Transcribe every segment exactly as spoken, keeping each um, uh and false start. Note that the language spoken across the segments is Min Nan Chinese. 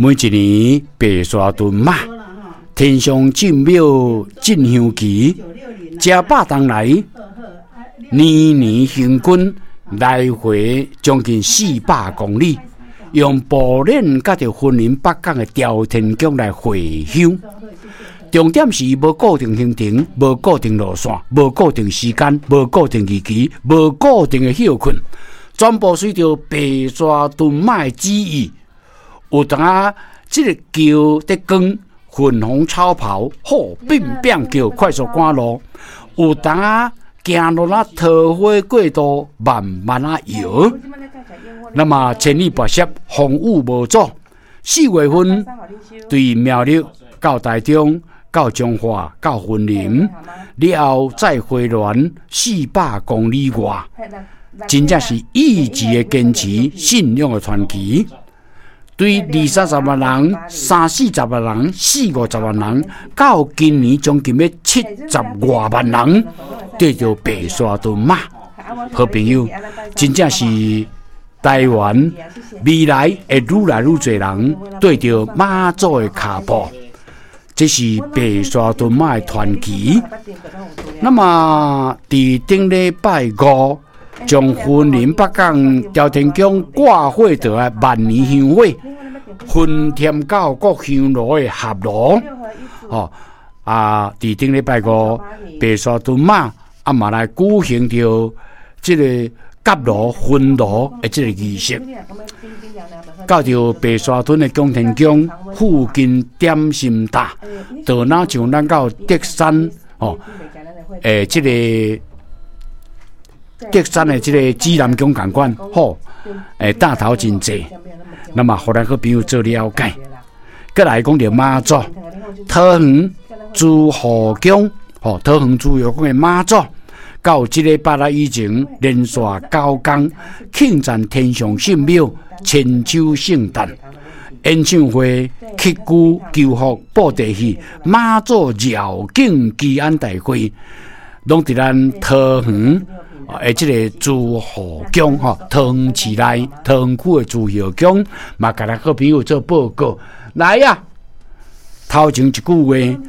每一年白沙屯媽天上圣庙进香期，食百冬來，年年行軍來回將近四百公里，用步練佮著雲林北港的朝天宮來回香。重點是無固定行程，無固定路線，無固定時間，無固定日期，無固定的歇睏，全部隨著白沙屯媽的旨意。有當仔這个轎佇光粉紅超跑，吼變變叫快速趕路；有當仔行路仔桃花過道，慢慢仔搖。那麼千里跋涉，風雨無阻。四月份對苗栗到台中，到彰化，到雲林，了後再回鑾四百公里外，真正是意志的堅持，信仰的傳奇。對二三十萬人、三四十萬人、四五十萬人，到今年將近欲七十外萬人，綴著白沙屯媽。好朋友，真正是台灣未來會愈來愈濟人綴著媽祖的跤步，這是白沙屯媽的傳奇。那麼，佇頂禮拜五，將雲林北港朝天宮掛火台的萬年香火，分添到各香爐的合爐，吼啊！佇頂禮拜五，白沙屯媽啊嘛來舉行著這个結爐分爐的這个儀式，到著白沙屯的拱天宮附近點心塔，就若像咱到竹山吼，欸，這个竹山的這个指南宮仝款，吼，欸，塔頭真濟，那麼予咱好朋友做了解。閣來講著媽祖，桃園慈惠宮，吼，桃園慈惠宮的媽祖，到這禮拜六以前連續九工慶讚天上聖廟千秋聖誕演唱會、乞龜求福布袋戲、媽祖繞境祈安大會，攏佇咱桃園的這个慈惠宮吼，桃園市內桃園區的慈惠宮，嘛共咱好朋友做報告。來啊，頭前一句話，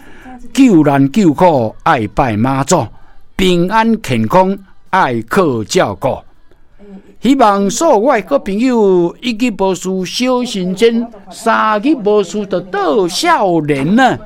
救難救苦愛拜媽祖，平安健康愛靠照顧。希望所有我的好朋友一日無事小神仙，三日無事就倒少年啊。